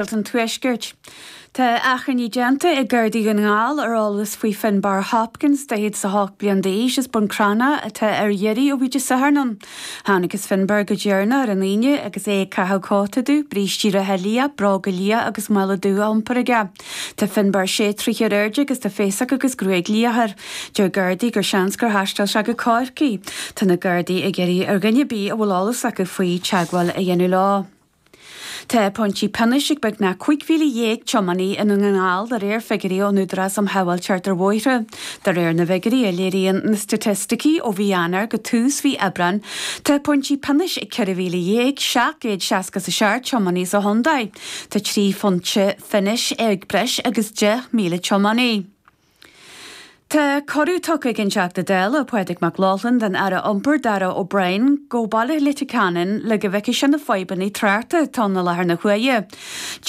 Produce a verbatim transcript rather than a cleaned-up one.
an Tuaiscirt. Tá achainí déanta ag Gardaí Dhún na nGall ar eolas faoi Finbar Hopkins daichead is a hocht bliain d'aois as Bun Cranncha atá ar iarraidh ó bhí Dé Sathairn ann. Thángthas Finbar go deireanach ar an Aoine agus é ag caitheamh cóta dubh, brístí reithe liath, bróga liath agus mála dubh á iompar aige. Tá Finbar sé troithe ar airde agus tá féasóg agus gruaig liath air. Deir Gardaí gur seans gur thaistil sé go Corcaigh. Tá na Gardaí ag iarraidh ar dhuine ar bith a bhfuil eolas acu faoi teagmháil a dhéanamh leo. Tá pointí pionóis ag beagnach cúig mhíle dhéag tiománaí i nDún na nGall de réir figiúirí ón Údarás um Shábháilteacht ar Bhóithre. De réir na bhfigiúirí a léiríonn na staitisticí ó mhí Eanáir go tús mhí Aibreáin, tá pointí pionóis ag ceithre mhíle dhéag seacht gcéad seasca is a seacht tiománaí sa chontae. Tá trí phointe phionóis ag breis agus deich míle tiománaí. Tá cuireadh tugtha ag an Teachta Dála Pádraig Mac Lochlainn don Aire Iompair Darragh O'Brien go Baile Leitir Ceanainn le go bhfeicfidh sé na fadhbanna tráchta atá i láthair na huaire.